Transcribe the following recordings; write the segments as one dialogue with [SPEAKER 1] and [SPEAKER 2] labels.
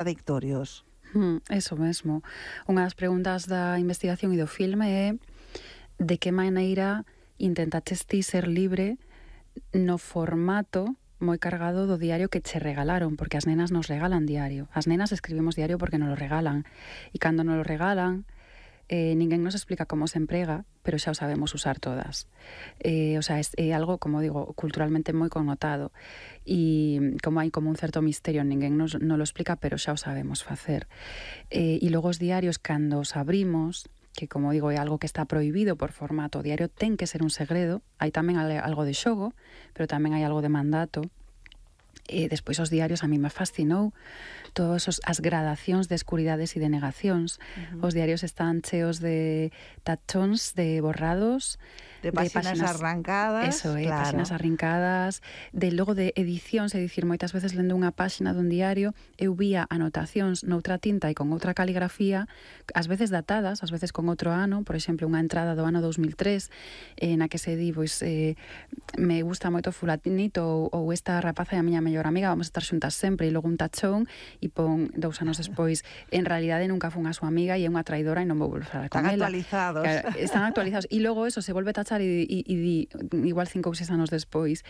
[SPEAKER 1] contradictorios.
[SPEAKER 2] Eso mesmo. Unha das preguntas da investigación e do filme é de que maneira intentaches ti ser libre no formato moi cargado do diario que che regalaron, porque as nenas nos regalan diario. As nenas escribimos diario porque nos lo regalan. E cando nos lo regalan, ninguén nos explica como se emprega, pero xa o sabemos usar todas. O sea, é algo, como digo, culturalmente moi connotado. E como hai como un certo misterio, ninguén nos lo explica, pero xa o sabemos facer. E logo os diarios, cando os abrimos, que, como digo, é algo que está prohibido por formato, o diario ten que ser un segredo, hai tamén algo de xogo, pero tamén hai algo de mandato. Despois os diarios a mí me fascinou todas as gradacións de escuridades e de negacións. Os diarios están cheos de tachóns, de borrados,
[SPEAKER 1] de páxinas arrancadas,
[SPEAKER 2] eso,
[SPEAKER 1] claro.
[SPEAKER 2] Páxinas arrincadas, logo de edicións, é dicir, moitas veces lendo unha páxina dun diario, eu vía anotacións noutra tinta e con outra caligrafía, ás veces datadas, ás veces con outro ano, por exemplo, unha entrada do ano 2003, na que se di, pois, me gusta moito fulanito ou esta rapaza é a miña mellor amiga, vamos a estar xuntas sempre, e logo un tachón e pon 2 anos despois, en realidade nunca fun a súa amiga e é unha traidora e non vou volver a falar con ela. Están actualizados e logo eso se volve a tachar e di igual 5 ou 6 anos despois,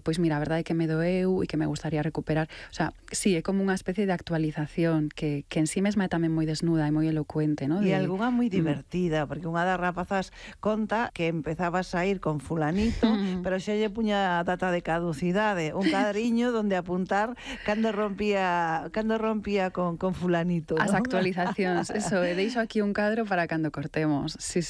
[SPEAKER 2] pois mira, a verdade é que me doeu e que me gustaría recuperar. O sea, sí, é como unha especie de actualización que en sí mesma é tamén moi desnuda e moi elocuente, ¿no?
[SPEAKER 1] E algunha moi divertida, porque unha das rapazas conta que empezabas a ir con fulanito, pero xa lle puña data de caducidade, un cadriño donde apuntar cando rompía con fulanito, ¿no?
[SPEAKER 2] As actualizacións, eso, deixo aquí un cadro para cando cortemos, sí.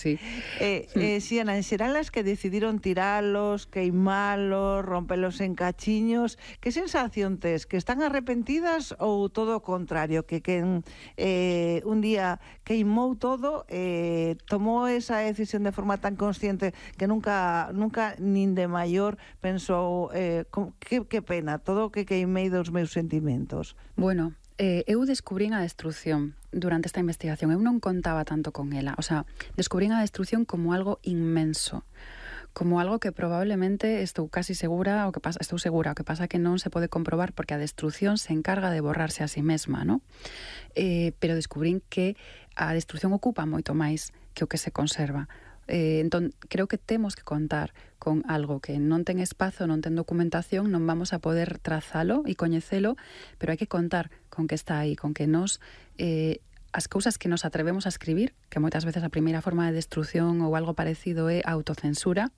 [SPEAKER 1] Xiana, en xeral as que decidiron tiralos, queimalos, rompelos en cachiños, que sensación tes? Que están arrepentidas ou todo o contrario? Que un día queimou todo, tomou esa decisión de forma tan consciente que nunca nin de maior pensou que pena, todo o que queimei dos meus sentimentos.
[SPEAKER 2] Bueno, eu descubrín a destrucción durante esta investigación. Eu non contaba tanto con ela. O sea, descubrín a destrucción como algo inmenso, como algo que probablemente estou segura, o que pasa que non se pode comprobar porque a destrucción se encarga de borrarse a sí mesma, ¿no? Pero descubrín que a destrucción ocupa moito máis que o que se conserva. Entón, creo que temos que contar con algo que non ten espazo, non ten documentación, non vamos a poder trazalo e coñecelo, pero hai que contar con que está aí, con que nos as cousas que nos atrevemos a escribir, que moitas veces a primeira forma de destrucción ou algo parecido é a autocensura,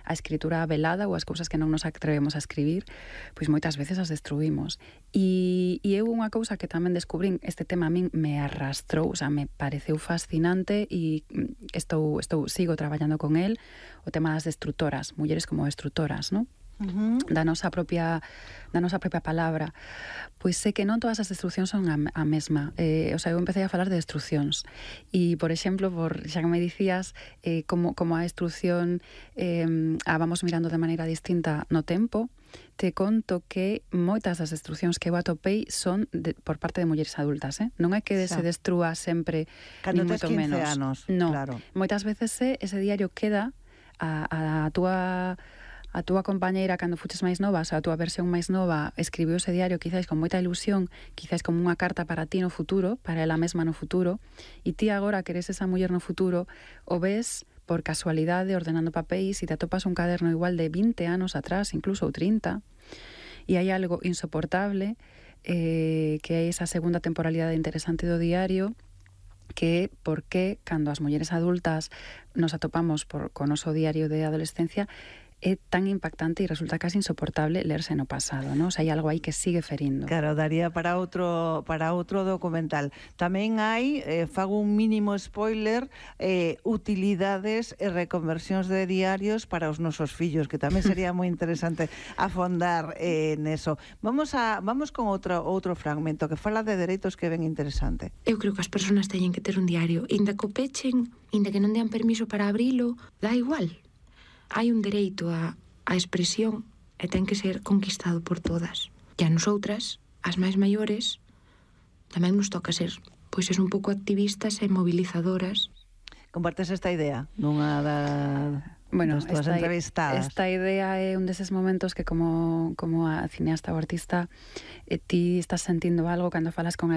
[SPEAKER 2] a escritura velada ou as cousas que non nos atrevemos a escribir, pois moitas veces as destruímos. E eu unha cousa que tamén descubrín, este tema a min me arrastrou, o sea, me pareceu fascinante e sigo traballando con el, o tema das destructoras, mulleres como destructoras, non? Da nosa propia palabra. Pois sei que non todas as destruccións son a mesma. O sea, eu empecé a falar de destruccións e, por exemplo, xa que me dicías como a destrucción vamos mirando de maneira distinta no tempo, te conto que moitas das destruccións que eu atopei son por parte de mulleres adultas, non é que se destrúa sempre
[SPEAKER 1] cando
[SPEAKER 2] ni moito menos.
[SPEAKER 1] Anos,
[SPEAKER 2] no,
[SPEAKER 1] claro.
[SPEAKER 2] Moitas veces ese diario queda a túa compañeira cando fuches máis nova, a túa versión máis nova, escribiu ese diario quizás con moita ilusión, quizás como unha carta para ti no futuro, para ela mesma no futuro, e ti agora que eres esa muller no futuro, o ves por casualidade ordenando papéis e te atopas un caderno igual de 20 anos atrás, incluso ou 30, e hai algo insoportable, que é esa segunda temporalidade interesante do diario, que por que cando as mulleres adultas nos atopamos co noso diario de adolescencia é tan impactante e resulta casi insoportable lerse no pasado, ¿no? O sea, hai algo aí que sigue ferindo.
[SPEAKER 1] Claro, daría para outro documental. Tamén hai, fago un mínimo spoiler, utilidades e reconversións de diarios para os nosos fillos, que tamén sería moi interesante afondar neso. Vamos con outro fragmento que fala de dereitos que ven interesante.
[SPEAKER 3] Eu creo que as persoas teñen que ter un diario, inda que o pechen, inda que non dean permiso para abrilo, dá igual. Hai un dereito á expresión e ten que ser conquistado por todas. E a nosotras, as máis maiores, tamén nos toca ser, pois, un pouco activistas e movilizadoras.
[SPEAKER 1] Compartes esta idea? das túas entrevistadas.
[SPEAKER 2] Esta idea é un deses momentos que como a cineasta ou artista ti estás sentindo algo cando falas con